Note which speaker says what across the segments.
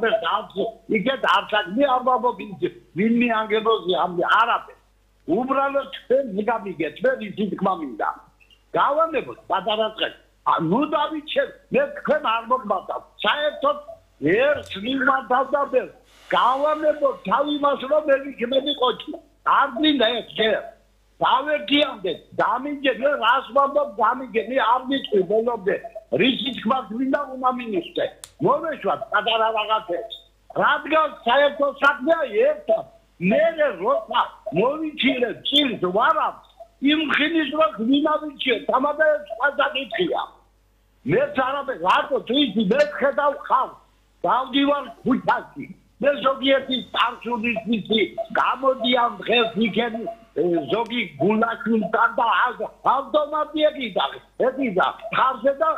Speaker 1: არაფერს იქეთ არ საქმე არ ვამბობთ ვინ მიანგებოზე არაფერს უბრალოდ ჩვენ მიგამიგეთ მე ისიც თქმა მინდა გავანებოთ პატარა წელი ნუ დავიჩერ მე თქვენ არ მოგმართავ საერთოდ ერთ მიმართავდა გავანებოთ თავი მას რომ მე ვიქნები ყოჩი არ მინდა ეს ჯერ დავერგიამდე დამიგეთ რას ვამბობ დამიგეთ არ მიწვი ბოლომდე რისი თქმა მინდა უნდა მინისტრე მოვეშვათ პატარა რაღაცებს რადგან საერთო საქმეა ერთად მე როცა მოვიჩირე წილს ვარავს იმ ხილის რო ვინავიჩე თამადებს ყაზაკითხია მე არაბე რატო თვისი მე ხედავ ხავ დავდივარ ქუჩაში მე ზოგიერთი წარსულის ვიცი გამოდიან დღეს იქენ ზოგი გულაშვილთან და ავტომატიები და ეთიდა ხარზე და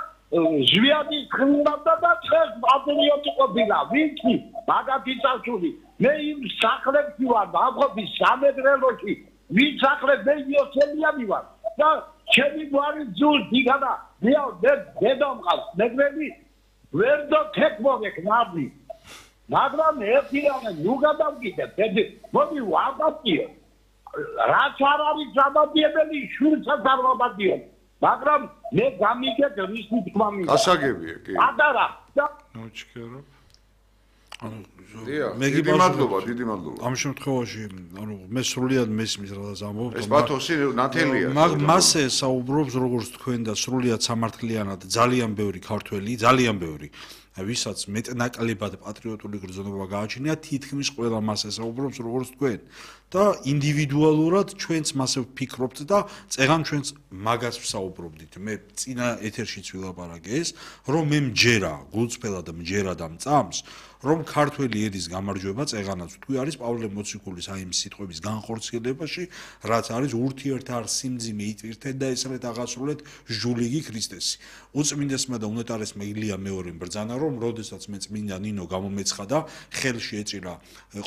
Speaker 1: ჟვიადის ხმნავდა და დღეს პატრიოტი ყოფილა ვიცი მაგათი წარსული მე იმ სახლებში ვარ ბაღობის სამეგრელოში ვინ სახლებს მე იოსელიანი ვარ და ჩემი გვარი ძულ დიგადა მე დედო მყავს მეგრელი ვერ დოთეკმოვეკ ნაბი მაგრამ ერთი რამე ნუ გადავკიდებ მოდი ვაბატიო რაც არ არის დამადიებელი შვილსაც არ ვაბატიო მაგრამ მე გამიგეთ რისი თქმა მინდა
Speaker 2: გასაგებია კი
Speaker 1: ადარა
Speaker 3: ნოჩქერო
Speaker 2: მე დიდი მადლობა
Speaker 3: ამ შემთხვევაში მე სრულიად მესმის რადგან ამბობ
Speaker 2: ეს პათოსი ნათელია
Speaker 3: მასე საუბრობს როგორც თქვენ და სრულიად სამართლიანად ძალიან ბევრი ქართველი ძალიან ბევრი ვისაც მეტნაკლებად პატრიოტული გრძნობა გააჩნია თითქმის ყველა მასე საუბრობს როგორც თქვენ და ინდივიდუალურად ჩვენც მასე ვფიქრობთ და წეგან ჩვენც მაგას ვსაუბრობდით მე წინა ეთერშიც ვილაპარაკე ეს რომ მე მჯერა გულწრფელად მჯერა და მწამს რომ ქართველი ერის გამარჯვება წეგანაც თქვი არის პავლე მოციქულის აი იმ სიტყვების განხორციელებაში რაც არის ურთიერთარ სიმძიმე იტვირთეთ და ესრეთ აღასრულეთ ჟულიგი ქრისტესი უწმინდესმა და უნეტარესმა ილია მეორე ბრძანა რომ როდესაც მე წმინდა ნინო გამომეცხადა ხელში ეჭირა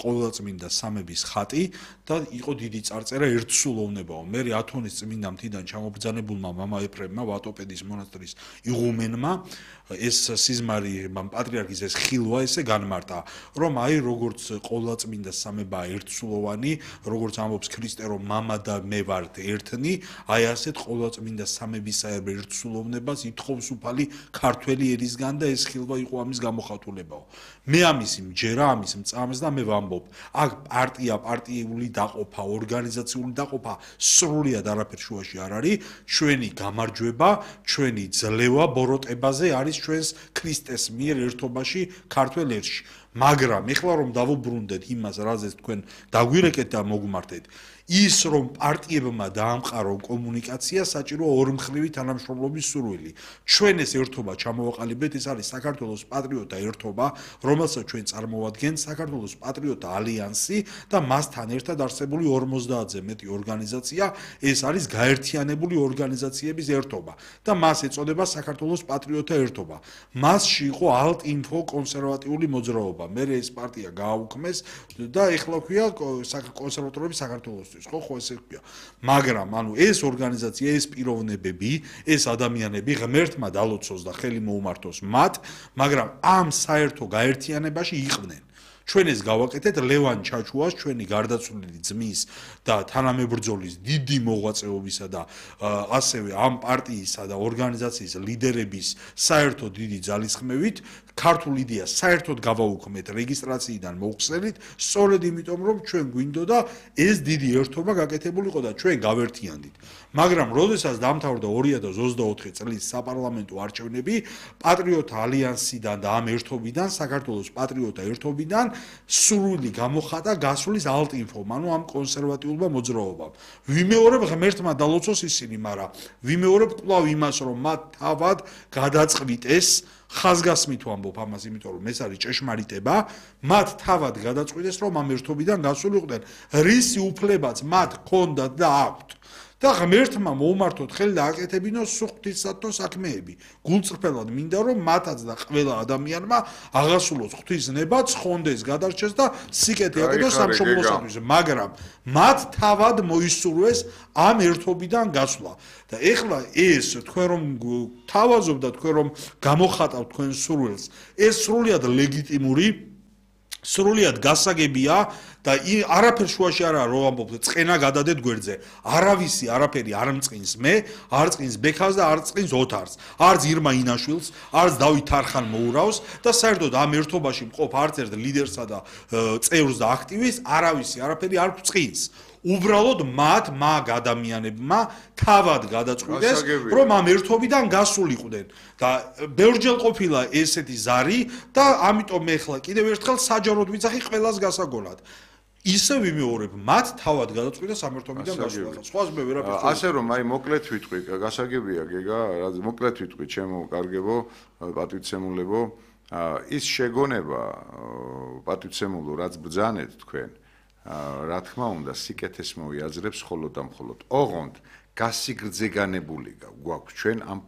Speaker 3: ყოვლადწმინდა სამების ხატი და იყო დიდი წარწერა ერთსულოვნებაო მე ათონის წმინდა მთიდან ჩამობრძანებულმა მამა ეფრემმა ვატოპედის მონასტრის იღუმენმა ეს სიზმარი პატრიარქის ეს ხილვა ესე განმარტა რომ აი როგორც ყოვლადწმინდა სამება ერთსულოვანი როგორც ამბობს ქრისტე რომ მამა და მე ვართ ერთნი აი ასეთ ყოვლადწმინდა სამებისაერ ერთსულოვნებას ითხოვს უფალი ქართველი ერისგან და ეს ხილვა იყო ამის გამოხატულებაო მე ამისი მჯერა ამის მწამს და მე ვამბობ აქ პარტიული დაყოფა ორგანიზაციული დაყოფა სრულიად არაფერ შუაში არ არის ჩვენი გამარჯვება ჩვენი ძლევა ბოროტებაზე არის ჩვენს ქრისტეს მიერ ერთობაში ქართველ ერში მაგრამ ეხლა რომ დავუბრუნდეთ იმას რაზეც თქვენ დაგვირეკეთ და მოგმართეთ ის რომ პარტიებმა დაამყარო კომუნიკაცია საჭირო ორმხრივი თანამშრომლობის სურვილი ჩვენ ეს ერთობა ჩამოვაყალიბეთ ეს არის საქართველოს პატრიოტთა ერთობა რომელსაც ჩვენ წარმოვადგენთ საქართველოს პატრიოტთა ალიანსი და მასთან ერთად არსებული 50-ზე მეტი ორგანიზაცია ეს არის გაერთიანებული ორგანიზაციების ერთობა და მას ეწოდება საქართველოს პატრიოტთა ერთობა მასში იყო ალტ-ინფო კონსერვატიული მოძრაობა მე ეს პარტია გააუქმეს და ეხლა ქვია კონსერვატორები საქართველოს ხო ესე ქვია მაგრამ ანუ ეს ორგანიზაცია ეს პიროვნებები ეს ადამიანები ღმერთმა დალოცოს და ხელი მოუმართოს მათ მაგრამ ამ საერთო გაერთიანებაში იყვნენ ჩვენ ეს გავაკეთეთ ლევან ჩაჩუას ჩვენი გარდაცვლილი ძმის და თანამებრძოლის დიდი მოღვაწეობისა და ასევე ამ პარტიისა და ორგანიზაციის ლიდერების საერთო დიდი ძალისხმევით ქართულ იდეას საერთოდ გავაუქმეთ რეგისტრაციიდან მოხსენით სწორედ იმიტომ რომ ჩვენ გვინდოდა ეს დიდი ერთობა გაკეთებულიყო და ჩვენ გავერთიანდით მაგრამ როდესაც დამთავრდა 2024 წლის საპარლამენტო არჩევნები პატრიოტთა ალიანსიდან და ამ ერთობიდან საქართველოს პატრიოტთა ერთობიდან სურვილი გამოხატა გასვლის ალტ-ინფომ ანუ ამ კონსერვატიულმა მოძრაობამ ვიმეორებ ღმერთმა დალოცოს ისინი მაგრამ ვიმეორებ კვლავ იმას რომ მათ თავად გადაწყვიტეს ხაზგასმით ვამბობ ამას იმიტომ რომ ეს არის ჭეშმარიტება მათ თავად გადაწყვიტეს რომ ამ ერთობიდან გასულიყვნენ რისი უფლებაც მათ ჰქონდათ და აქვთ და ღმერთმა მოუმართოთ ხელი და აკეთებინოს ღვთისმსახურებო საქმეები. გულწრფელად მინდა რომ მათაც და ყველა ადამიანმა აღასრულოს ღვთისნება, ცხონდეს, გადარჩეს და სიკეთე აკეთოს სამშობლოსათვის. მაგრამ მათ თავად მოისურვეს ამ ერთობიდან გასვლა. და ეხლა ეს თქვენ რომ თავაზობ და თქვენ რომ გამოხატავთ თქვენ სურვილს, ეს სრულიად ლეგიტიმური სრულიად გასაგებია და არაფერ შუაში არა რო ამბობ წენა გადადეთ გვერდზე არავისი არაფერი არ მწყინს მე არ წqins ბექას და არ წqins ოთარს არც ირმა ინაშვილს არც დავით თარხან მოურავს და საერთოდ ამ ერთობაში მყოფ არც ერთ ლიდერსა და წევრს და აქტივისტს არავისი არაფერი არ წqins უბრალოდ მა ადამიანებმა თავად გადაწყვიტეს რომ ამ ერთობიდან გასულიყვნენ და ბევრჯერ ყოფილა ესეთი ზარი და ამიტომ მე ხლა კიდევ ერთხელ საჯაროდ ვიცახი ყველას გასაგონად ისე ვიმეორებ მათ თავად გადაწყვიტეს ამ ერთობიდან გასულა სხვას მე ვერაფერს
Speaker 2: ასე რომ აი მოკლედ ვიტყვი გასაგებია გეგა მოკლედ ვიტყვი ჩემო კარგებო პატივცემულებო ის შეგონება პატივცემულო რაც ბრძანეთ თქვენ რა თქმა უნდა სიკეთეს მოიაზრებს მხოლოდ და მხოლოდ ოღონდ გასიგრძეგანებული გვაქვს ჩვენ ამ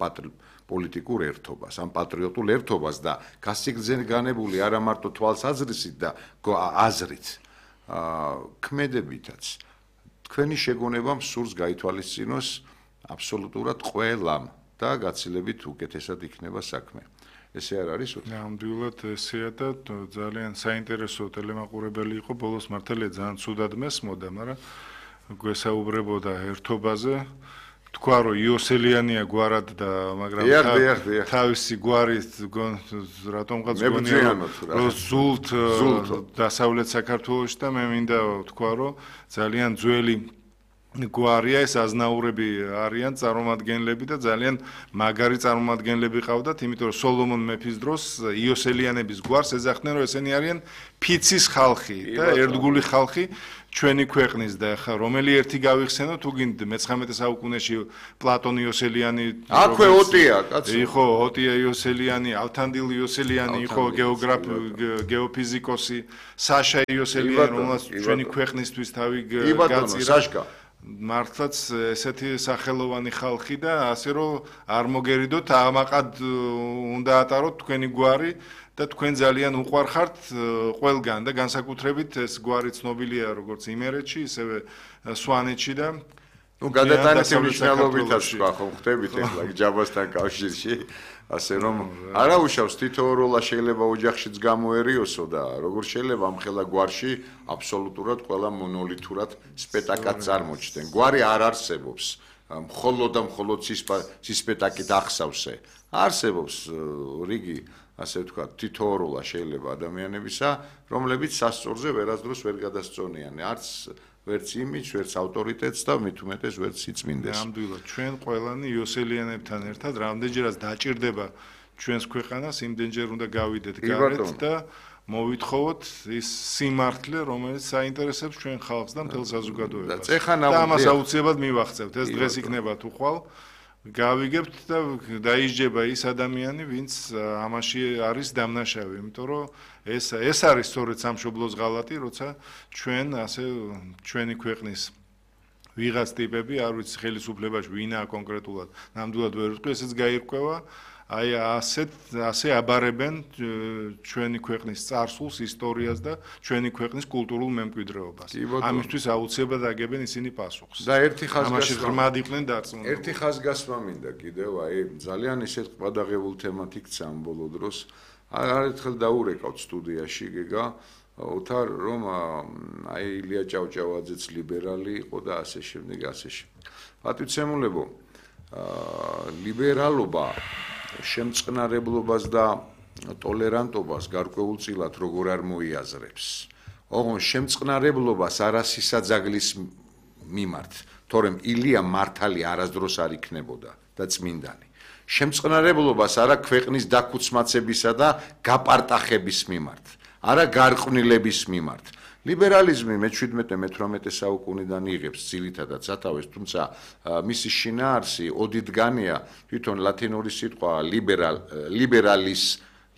Speaker 2: პოლიტიკურ ერთობას ამ პატრიოტულ ერთობას და გასიგრძეგანებული არა მარტო თვალსაზრისით და აზრით ქმედებითაც თქვენი შეგონება მსურს გაითვალისწინოს აბსოლუტურად ყველამ და გაცილებით უკეთესად იქნება საქმე ესე არ არის უთო?
Speaker 4: ნამდვილად ესეა და ძალიან საინტერესო ტელემაყურებელი იყო ბოლოს მართალია ძალიან ცუდად მესმოდა, მაგრამ გვესაუბრებოდა ერთობაზე. თქვა რომ იოსელიანია გვარად და მაგრამ თავისი გვარით რატომღაც გონია რომ ზულთ დასავლეთ საქართველოში და მე მინდა თქვა რომ ძალიან ძველი გვარია ეს აზნაურები არიან წარმომადგენლები და ძალიან მაგარი წარმომადგენლები ყავდათ, იმიტომ რომ სოლომონ მეფის დროს იოსელიანების გვარს ეძახდნენ რომ ესენი არიან ფიცის ხალხი და ერთგული ხალხი ჩვენი ქვეყნის და ხა რომელი ერთი გავიხსენო თუ გინდ მე-19 საუკუნეში პლატონ იოსელიანი
Speaker 2: აქვე ოტია კაცო
Speaker 4: იყო ოტია იოსელიანი ალთანდილ იოსელიანი იყო გეოგრაფი გეოფიზიკოსი საშა იოსელიანი რომელსაც ჩვენი ქვეყნისთვის თავი გაწირა მართლაც ესეთი სახელოვანი ხალხი და ასე რომ არ მოგერიდოთ ამაყად უნდა ატაროთ თქვენი გვარი და თქვენ ძალიან უყვარხართ ყველგან და განსაკუთრებით ეს გვარი ცნობილია როგორც იმერეთში ისევე სვანეთში და
Speaker 2: ნუ გადატანითი მნიშვნელობითაც თქვა ხო ხდებით ახლა ჯაბასთან კავშირში ასე რომ არა უშავს თითოეულა შეიძლება ოჯახშიც გამოერიოსო და როგორ შეიძლება ამ ხელა გვარში აბსოლუტურად ყველა მონოლითურად სპექტაკლად წარმოჩნდნენ გვარი არ არსებობს მხოლოდ და მხოლოდ სპექტაკლით ახსავსე არსებობს რიგი ასე ვთქვათ თითოეულა შეიძლება ადამიანებისა რომლებიც სასწორზე ვერასდროს ვერ გადასწონიან არც ვერც იმიჯს, ვერც ავტორიტეტს და მით უმეტეს ვერც სიწმინდეს.
Speaker 4: ნამდვილად, ჩვენ ყველანი იოსელიანებთან ერთად რამდენჯერაც დაჭირდება ჩვენს ქვეყანას, იმდენჯერ უნდა გავიდეთ გარეთ და მოვითხოვოთ ის სიმართლე, რომელიც საინტერესებს ჩვენ ხალხს და მთელ საზოგადოებას. და ამას აუცილებლად მივახცევთ. ეს დღეს იქნება თუ ხვალ გავიგებთ და დაიჯდება ის ადამიანი, ვინც ამაში არის დამნაშავე, იმიტომ რომ ეს არის სწორედ სამშობლოს ღალატი, როცა ჩვენ ასე ჩვენი ქვეყნის ვიღაც ტიპები, არ ვიცი ხელისუფლებაში ვინაა კონკრეტულად, ნამდვილად ვერ ვიტყვი, ესეც გაირკვევა, აი ასე აბარებენ ჩვენი ქვეყნის წარსულს, ისტორიას და ჩვენი ქვეყნის კულტურულ მემკვიდრეობას. ამისთვის აუცილებლად აგებენ ისინი პასუხს.
Speaker 2: და ერთი
Speaker 4: ამაში ღრმად იყვნენ დარწმუნებული.
Speaker 2: ერთი ხაზგასმა მინდა კიდევ, აი ძალიან ისეთ ყადაღებულ თემად იქცა ამ ბოლო დროს. არ ერთხელ დაურეკავთ სტუდიაში გეგა, ოთარ რომ აი ილია ჭავჭავაძეც ლიბერალი იყო და ასე შემდეგ, ასე შემდეგ. პატივცემულებო, ლიბერალობა შემწყნარებლობას და ტოლერანტობას გარკვეულწილად როგორ არ მოიაზრებს. ოღონდ შემწყნარებლობას არასისაძაგლის მიმართ, თორემ ილია მართალი არასდროს არ იქნებოდა და წმინდანი. შემწყნარებლობას არა ქვეყნის დაქუცმაცებისა და გაპარტახების მიმართ, არა გარყვნილების მიმართ. ლიბერალიზმი მე-17-18 საუკუნიდან იღებს ძირითადად სათავეს, თუმცა მისი შინაარსი ოდითგანია თვითონ ლათინური სიტყვა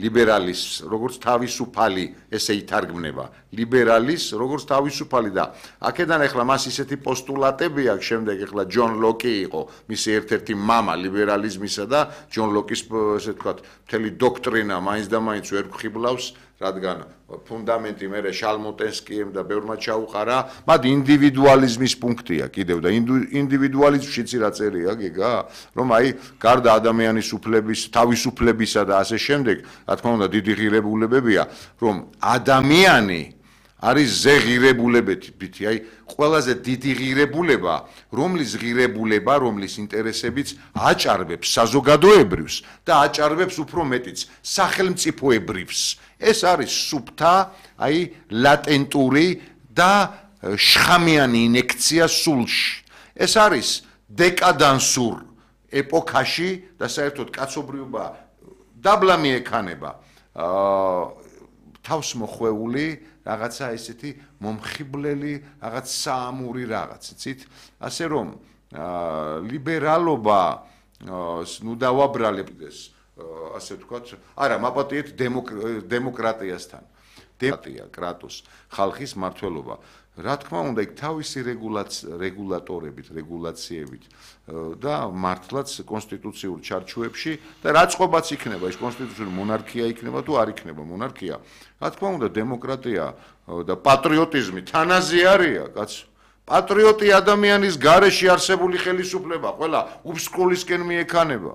Speaker 2: ლიბერალის როგორც თავისუფალი ესე ითარგმნება ლიბერალის როგორც თავისუფალი და აქედან ახლა მას ისეთი პოსტულატები აქვს შემდეგ ახლა ჯონ ლოკი იყო მისი ერთ-ერთი მამა ლიბერალიზმისა და ჯონ ლოკის ესე ვთქვათ მთელი დოქტრინა მაინც და მაინც ვერ გვხიბლავს რადგან ფუნდამენტი მე შალმოტენსკიემ და ბევრმა ჩაუყარა, მათ ინდივიდუალიზმის პუნქტია კიდევ და ინდივიდუალიზმშიც რა წერია გიგა, რომ აი გარდა ადამიანის უფლების, თავისუფლებისა და ასე შემდეგ, რა თქმა უნდა დიდი ღირებულებებია, რომ ადამიანი არის ზეღირებულებითი, აი ყველაზე დიდი ღირებულება, რომლის ინტერესებიც აჭარბებს საზოგადოებრივს და აჭარბებს უფრო მეტიც სახელმწიფოებრივს. ეს არის სუფთა, აი ლატენტური და შხამიანი ინექცია სულში. ეს არის დეკადანსურ ეპოქაში და საერთოდ კაცობრიობა დაბლა მიექანება თავს მოხვეული რაღაცა ესეთი მომხიბვლელი რაღაც საამური რაღაც, იცით? ასე რომ ლიბერალობა ნუ დავაბრალებთ ეს ასე ვთქვათ, არა, მაპატიეთ დემოკრატიასთან. დემოკრატია, კრატოს, ხალხის მმართველობა. რა თქმა უნდა, იქ თავისი რეგულატორებით, რეგულაციებით და მართლაც კონსტიტუციურ ჩარჩოებში და რა წყობაც იქნება, ეს კონსტიტუციური მონარქია იქნება თუ არ იქნება მონარქია. რა თქმა უნდა, დემოკრატია და პატრიოტიზმი თანაზე არია, კაცო. პატრიოტი ადამიანის გარეშე არსებული ხელისუფლება, ყველა უბსკულისკენ მიექანება.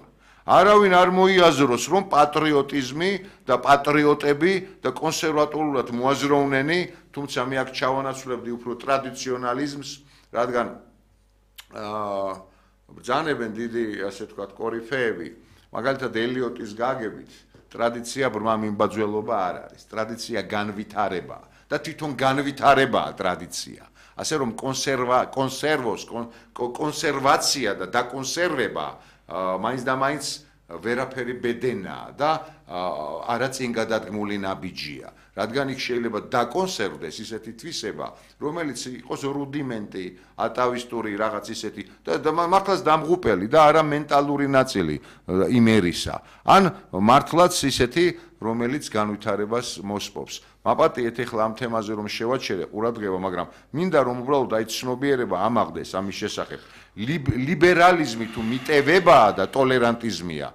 Speaker 2: არავინ არ მოიაზროს, რომ პატრიოტიზმი და პატრიოტები და კონსერვატულად მოაზროვნენი, თუმცა მე აქ ჩავანაცვლებდი უფრო ტრადიციონალიზმს, რადგან ბრძანებენ დიდი, ასე ვთქვათ, კორიფეები, მაგალითად ელიოტის გაგებით, ტრადიცია ბრმა მიმბაძველობა არ არის, ტრადიცია განვითარებაა და თვითონ განვითარებაა ტრადიცია. ასე რომ კონსერვაცია და დაკონსერვება მაინც და მაინც ვერაფერი ბედენაა და არა წინ გადადგმული ნაბიჯია. რადგან იქ შეიძლება დაკონსერვდეს ისეთი თვისება, რომელიც იყოს რუდიმენტი, ატავისტური რაღაც ისეთი და მართლაც დამღუპელი და არა მენტალური ნაწილი იმერისა. ან მართლაც ისეთი, რომელიც განვითარებას მოსპობს. მაპატიეთ ეხლა ამ თემაზე რომ შევაჩერე ყურადღება, მაგრამ მინდა რომ უბრალოდ აი ცნობიერება ამაღლდეს ამის შესახებ. ლიბერალიზმი თუ მიტევებაა და ტოლერანტიზმია,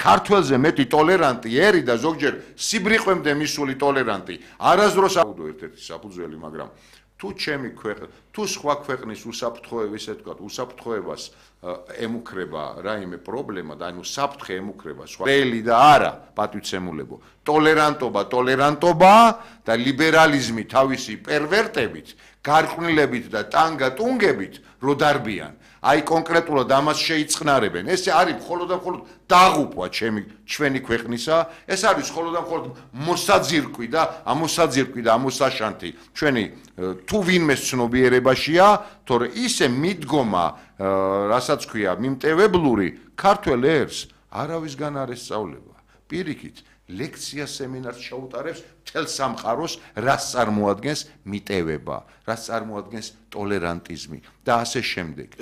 Speaker 2: ქართველზე მეტი ტოლერანტი ერი და ზოგჯერ სიბრიყვემდე მისული ტოლერანტი არასდროს აუდო ერთ-ერთი საფუძველი, მაგრამ თუ ჩემი ქვეყნა, თუ სხვა ქვეყნის უსაფრთხოების, ესე ვთქვათ, უსაფრთხოებას ემუქრება რაიმე პრობლემა და ანუ საფრთხე ემუქრება სხვა რეალი და არა პატივცემულებო, ტოლერანტობა და ლიბერალიზმი თავისი პერვერტებით, გარყვნილებით და ტანგატუნგებით რო დარბიან. აი კონკრეტულად ამას შეიწყნარებენ. ეს არის მხოლოდ და მხოლოდ დაღუპვა ჩვენი ქვეყნისა, ეს არის მხოლოდ და მხოლოდ მოსაძირკვი და ამოსაშანთი ჩვენი თუ ვინმეს ცნობიერებაშია, თორე ისე მიდგომა, რასაც ქვია, მიმტევებლური ქართველ ერს არავისგან არ ესწავლება. პირიქით ლექცია სემინარს ჩაუტარებს მთელ სამყაროს, რაც წარმოადგენს მიტევება, რაც წარმოადგენს ტოლერანტიზმი და ასე შემდეგ.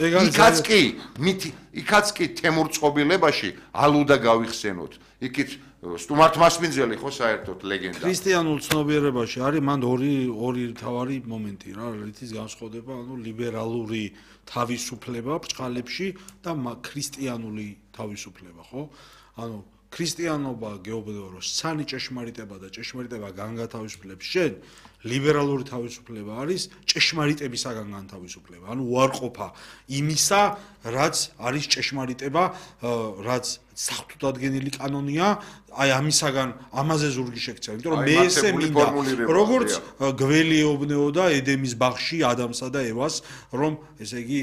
Speaker 2: იქაც კი თემურწყობილებაში ალუდა გავიხსენოთ. იქით სტუმართ მასპინძელი ხო საერთოდ ლეგენდა.
Speaker 3: ქრისტიანულ ცნობიერებაში არის მან ორი მთავარი მომენტი რა, რითიც განსხვავდება, ანუ ლიბერალური თავისუფლება ბრჭყალებში და ქრისტიანული თავისუფლება, ხო? ანუ ქრისტიანობა გეუბნებოდა რომ სანი ჭეშმარიტება და ჭეშმარიტება განგათავისუფლებს შენ, ლიბერალური თავისუფლება არის ჭეშმარიტებისაგან განთავისუფლება, ანუ უარყოფა იმისა, რაც არის ჭეშმარიტება, რაც საღვთო დადგენილი კანონია, აი ამისაგან ამაზე ზურგი შექცევა, იმიტომ რომ მე ესე მინდა, როგორც გველი ეუბნეოდა ედემის ბაღში ადამსა და ევას, რომ ესე იგი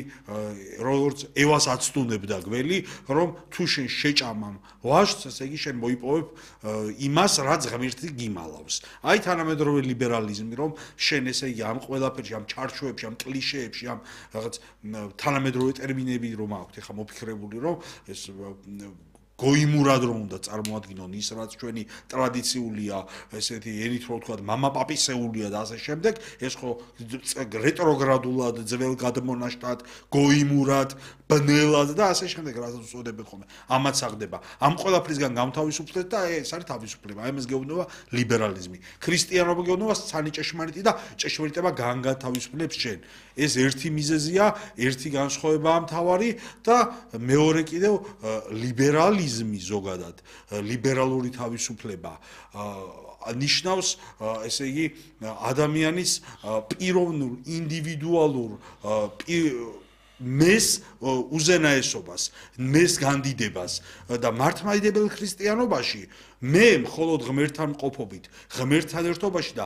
Speaker 3: როგორც ევას აცდუნებდა გველი, რომ თუ შენ შეჭამამ ვაშს, ესე იგი შენ მოიპოვებ იმას, რაც ღმერთი გიმალავს. აი თანამედროვე ლიბერალიზმი, რომ შენ ესე იგი ამ ყველაფერში, ამ ჩარჩოებში, ამ კლიშეებში, ამ რაღაც თანამედროვე ტერმინები რომ აქვთ, ეხა მოფიქრებული, რომ ეს გოიმურად რომ უნდა წარმოადგინონ ის, რაც ჩვენი ტრადიციულია, ესეთი ენით რომ ვთქვათ, მამაპაპისეულია და ასე შემდეგ, ეს ხო რეტროგრადულად, ძველგადმონაშთად, გოიმურად, ბნელად და ასე შემდეგ, რასაც უწოდებენ ხოლმე. ამაც აღდება. ამ ყველაფრისგან გამთავისუფლეთ და ეს არის თავისუფლება. აი ამას გეუბნება ლიბერალიზმი. ქრისტიანობა გეუბნება სანი ჭეშმარიტი და ჭეშმარიტება განგათავისუფლებს შენ. ეს ერთი მიზეზია, ერთი განსხვავებაა მთავარი და მეორე კიდევ ლიბერალი ლიბერალიზმი ზოგადად, ლიბერალური თავისუფლება ნიშნავს, ესე იგი, ადამიანის პიროვნულ, ინდივიდუალურ მეს უზენაესობას, მეს განდიდებას და მართლმადიდებელ ქრისტიანობაში მე მხოლოდ ღმერთთან მყოფობით, ღმერთთან ერთობაში და